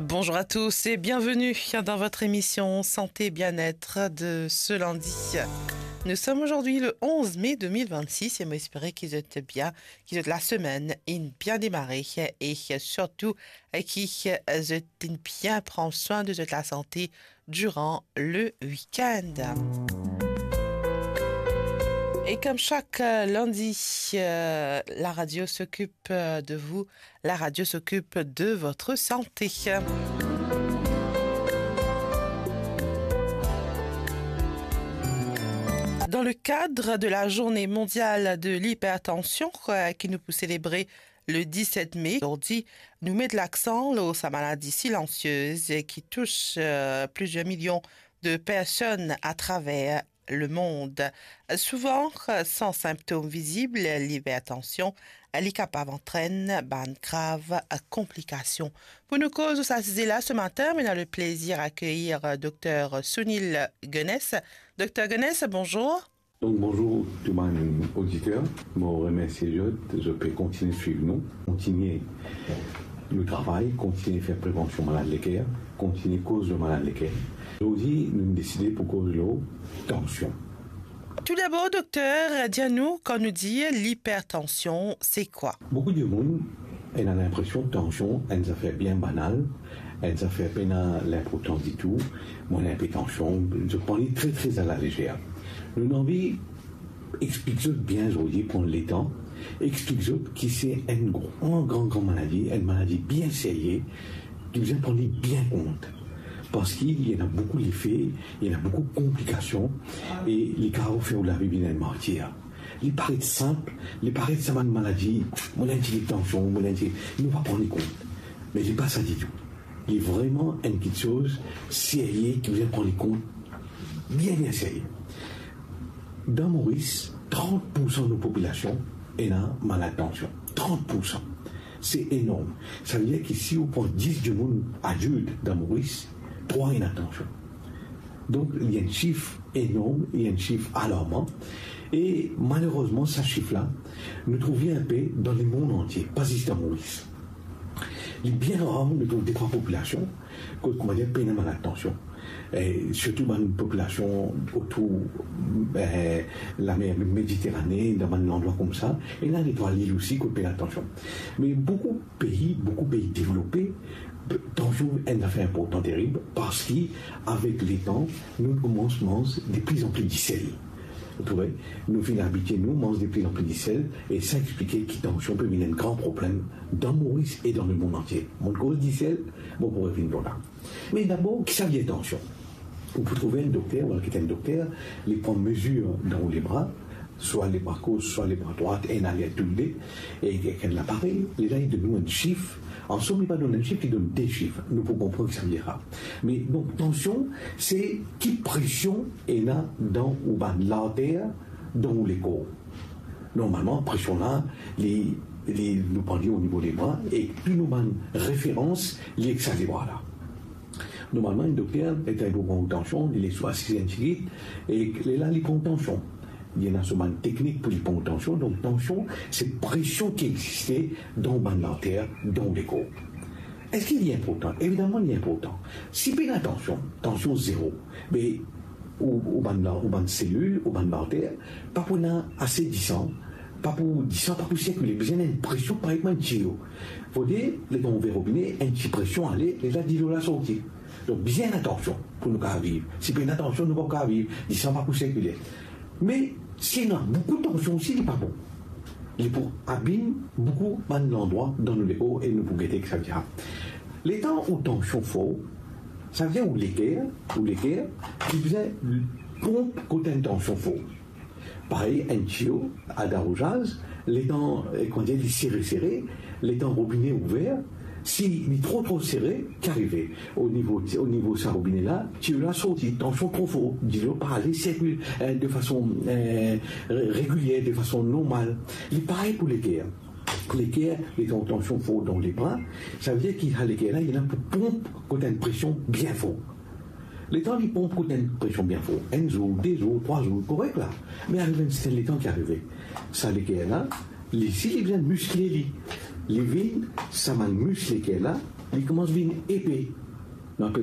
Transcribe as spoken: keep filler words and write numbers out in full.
Bonjour à tous et bienvenue dans votre émission Santé Bien-être de ce lundi. Nous sommes aujourd'hui le onze mai deux mille vingt-six et mo espere ki zot bien, ki zot lasemenn inn bien demare e sirtou ki zot inn bien pran swin de zot lasante durant le week-end. Et comme chaque, euh, lundi, euh, la radio s'occupe, euh, de vous, la radio s'occupe de votre santé. Dans le cadre de la journée mondiale de l'hypertension, euh, ki nou pou selebre le dix-sept mai, zordi, nou met laksan lor sa maladi silansiez ki tous, euh, plusieurs millions de personnes à travers le monde. Souvan, san sinptom vizib, lipertansion, li kapav antrenn bann grav konplikasion. Pou nou koz sa size la se matin, nou ena le plezir akeyir Dokter Sunil Gunness. Dokter Gunness, bonjour. Donk, bonzour tou bann oditer. Mo remersie zot, zot pe kontigne swiv nou, kontigne nou travay, kontigne fer prevansion malad leker, kontigne koz lor malad leker. Zordi, nou deside pou koz lor tansion. Toudabor, dokter, dir nou, kan nou dir lipertansion, se kwa? Boukou dimoun ena linpresion tansion enn zafer bien banal, enn zafer pena linportans ditou. Mo ena inpe tansion, zot pran li tre, tre alalezer. Nou anvi explik zot bien zordi, pran letan, explik zot ki se enn gran, gran, gran maladi, enn maladi bien serye, ki bizin pran li bien kont. Parski li ena boukou lefe, li ena boukou konplikasion, e li kapav fer ou lavi vinn enn martir. Li paret sinp, li paret sa bann maladi, mo ena enn tigit tansion, mo ena enn tigit, nou pa pran li kont. Me li pa sa ditou. Li vreman enn kiksoz serye ki bizin pran li kont bien, bien serye. Dan Moris, trant poursan nou popilasion ena malad tansion. Trant poursan. Se enorm. Savedir ki si ou pran dis dimoun adilt dan Moris, trwa ena tansion. Donk, li enn sif enorm, li enn sif alarman. E malerezman, sa sif la, nou trouv li inpe dan lemond antie, pa zis dan Moris. Li bien rar nou trouv de trwa popilasion kot, koumadir, pena malad tansion. E sirtou bann popilasion otour, e, lamer Mediterane, dan bann landrwa koumsa, ena de trwa lil osi kot pena tansion. Me boukou pei, boukou pei devlope, tansion enn zafer inportan terib, parski avek letan, nou koumans manz de pli an pli disel. Ou trouve? Nou finn abitie nou manz de pli an pli disel, e sa explike ki tansion pe vinn enn gran problem dan Moris e dan lemond antie. Mo koz disel, mo pou revinn lor la. Me dabor, ki savedir tansion? Ou pou trouve enn dokter, ou al get enn dokter, li pran mezir dan ou lebra, swa lebra gos, swa lebra drwat, ena ler toule, e ek enn laparey, lerla li donn nou enn sif. Ansom, li pa donn enn sif, li donn de sif. Nou pou konpran ki savedir sa. Me donk, tansion, se ki presion ena dan ou bann larter, dan ou lekor. Normalman, presion la, li, li, nou pran li o nivo lebra, e tou nou bann referans, li ek sa lebra la. Normalman, enn dokter, letan li pou pran tansion, li les ou asize enn tigit, e lerla li pran tansion. Li ena so bann teknik pou li pran tansion. Donk, tansion, se presion ki existe dan bann larter, dan lekor. Eski li inportan? Evidaman, li inportan. Si pena tansion, tansion zero, be ou, ou bann la, ou bann selil, ou bann larter, pa pou ena ase disan, pa pou, disan pa pou sirkile, bizin enn presion parey kouma enn tiyo. Fode, letan ou ouver robine, enn ti presion ale, lerla dilo la sorti. Donk, bizin ena tansion pou nou kapav viv. Si pena tansion, nou pa pou kapav viv, disan pa pou sirkile. Me si ena boukou tansion osi, li pa bon. Li pou abim boukou bann landrwa dan nou lekor e nou pou gete ki savedir. Letan ou tansion for, savedir ou leker, ou leker, li bizin ponp kot enn tansion for. Parey enn tiyo al dan arozaz, letan, e, koumadir, li sere, sere, letan robine ouver, si li tro, tro sere, ki arive? O nivo, o nivo sa robine la, tiyo la sorti, tansion tro for, dilo pa ale sirkil, e, de fason, e, re-, regilier, de fason normal. Li parey pou leker. Leker, letan tansion for dan lebra, savedir ki sa leker la, li ena pou ponp kot enn presion bien for. Letan li ponp kot enn presion bien for, enn zour, de zour, trwa zour, korek la. Me arive enn serten letan ki arive, sa leker la, li, si li bizin miskle li. li vinn, sa bann mis leker la, li koumans vinn epe. Nou apel